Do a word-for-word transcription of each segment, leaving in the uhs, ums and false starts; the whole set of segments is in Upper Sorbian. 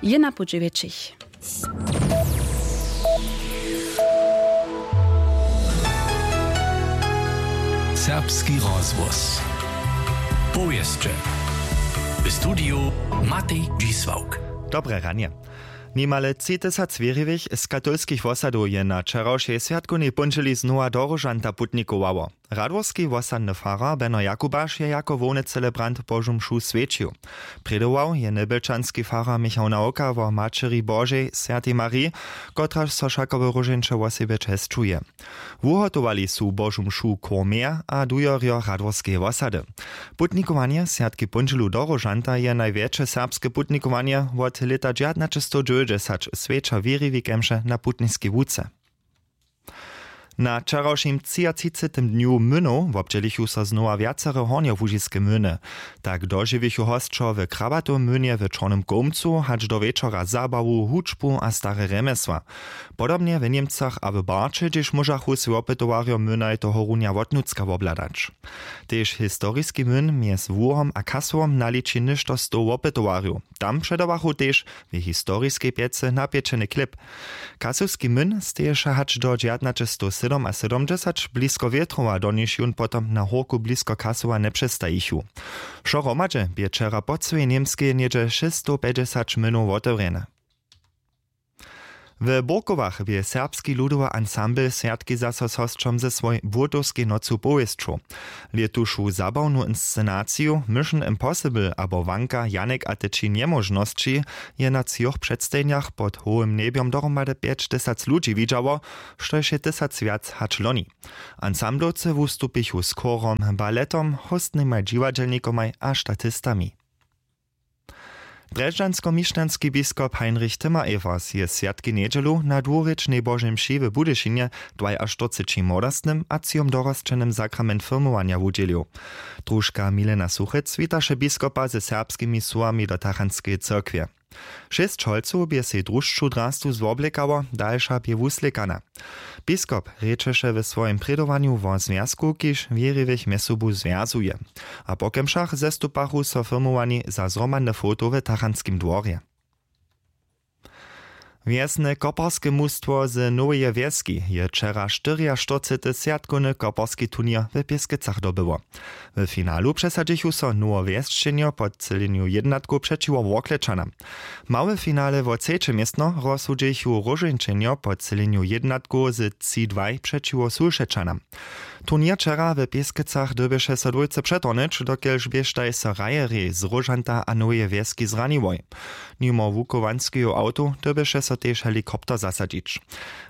Je na pući wjetšich. Serbski rozhłos. Powěsće. W studiju Matej Dźisławk. Dobre ranje. Nimale tři tysac wěriwych z katolskich wosadow je na wčerawšej swjatkownej póndźěli znowa do Róžanta putnikowało. Radworski wosadny farar Beno Jakubaš je jako hłowny celebrant Božu mšu swjećił. Prědował je njebjelčanski farar Michał Nawka wo Maćeri Božej, swjatej Mariji, kotraž so wšako w Róžeńće wosebje česćuje. Wuhotowali su Božu mšu chór Mea a dujerjo Radworskeje wosady. Putnikowanje swjatki póndźělu do Róžanta je najwjetše serbske putnikowanje wot lěta dźewjatnaćestowdźewjećdźesać, swjeća wěriwi kemše na putniskej łuce. Na wčerawšim třiatřicetym dnju mynow wobdźělichu so znowa wjacere hornjołužiske myny. Tak dožiwichu hosćo w Krabatowym mynje w Čornym Kołmcu hač do wječora zabawu, hudźbu a stare rjemjesła. Podobnje w Němcach a w Barće, hdźež móžachu swój wopytowarjo mynaj tohorunja wotnutřka wobhladać. Tež historiski myn mjez Łuhom a Kasowom naliči něšto stow wopytowarjow. Tam předawachu tež w historiskej pjecy napječeny chlěb. Kasowski myn steješe hač do dźewjatnaćestowsydomasydomdźesać blisko Wětrowa, do nichž jón potom na hórku blisko Kasowa njepřestajichu. Wšo hromadźe bě wčera po cyłej Němskej něhdźe šěsćstowpjećdźesać mynow wotewrjene. W Burkowach bě Serbski ludowy ansambl swjatki zaso z hosćom ze swojej Błótowskej nocu powěsćow. Lětušu zabawnu inscenaciju Mission Impossible abo Wanka Janek a te tři njemóžnosći je na třoch předstajenjach pod hołym njebjom dohromady pjećtysac ludźi widźało, štož je tysac wjac hač loni. Ansamblowcy wustupichu z chórom, baletom, hóstnymaj dźiwadźelnikomaj a statistami. Drježdźanskomišćanski biskop Heinrich Timmer-Evers je swjatki njedźelu na dwurěčnej Božej mši w Budyšinje dwajaštyrceći młodostnym a třijom dorosćenym sakrament firmowanja wudźělił. Družka Milena Suchec witaše biskopa ze serbskimi słowami do tachantskeje cyrkwje. Šěsć holcow bě sej drušću drastu zwoblěkało, dalša bě wuslěkana. Biskop rěčeše w swojim prědowanju wo zwjazku, kiž wěriwych mjez sobu zwjazuje. A po kemšach zestupachu so firmowani za zhromadne foto w tachantskim dworje. Wjesne koparske mustwo z Noweje Wjeski je wčera štyriaštyrcety swjatkowny koparski turněr w Pěskecach dobyło. W finalu přesadźichu so Nowowjesčenjo po třělenju jědnatkow přećiwo Worklečanam. Małe finale wo třeće městno rozsudźichu Róžeńčenjo po třělenju jědnatkow z tři dwaj přećiwo Sulšečanam. Turněr wčera w Pěskecach dyrbješe so dwójce přetohnyć, dokelž běštaj so hrajerjej z Róžanta a Noweje Wjeski zraniłoj. Nimo wuchowanskeju awtow dyrbješe so tež helikopter zasadźić.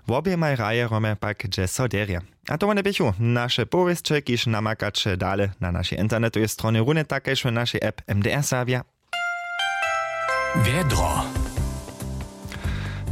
Woběmaj hrajerjomaj pak dźe so derje. A to wone běchu naše powěsće, kiž namakaće dale na našej internetowej stronje, runje tak kaž w našej app M D R Serbja. Wjedro.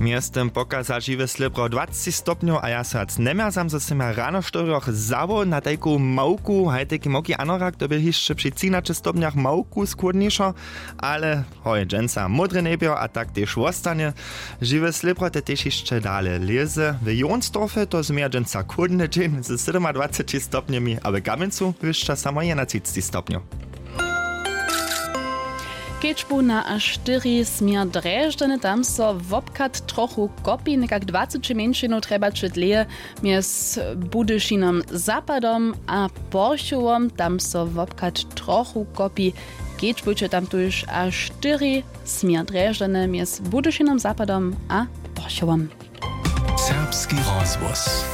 Mjeztym pokaza žiwe slěbro dwacci stopnjow a ja so wjac njemjerzam, zo sym ja rano w štyrjoch zawoł na tajku małku, haj tajki małki anorak, to bě hišće při třinaće stopnjach małku schłódnišo, ale hoj, dźensa módre njebjo a tak tež wostanje. Žiwe slěbro te tež hišće dale lěze. W Jonsdorfje to změja dźensa chłódny dźeń ze sydomadwaceći stopnjemi a w Kamjencu wyšća samo jedenatřiceći stopnjow. Kedźbu na A štyri směr Drježdźany, tam so wobchad trochu kopi, někak dwaceći mjeńšinow trjebaće dlěje mjez Budyšinom zapadom a Porchowom, tam so wobchad trochu kopi. Kedźbujće tam tuž A štyri směr Drježdźany mjez Budyšinom zapadom a Porchowom. Serbski rozhłos.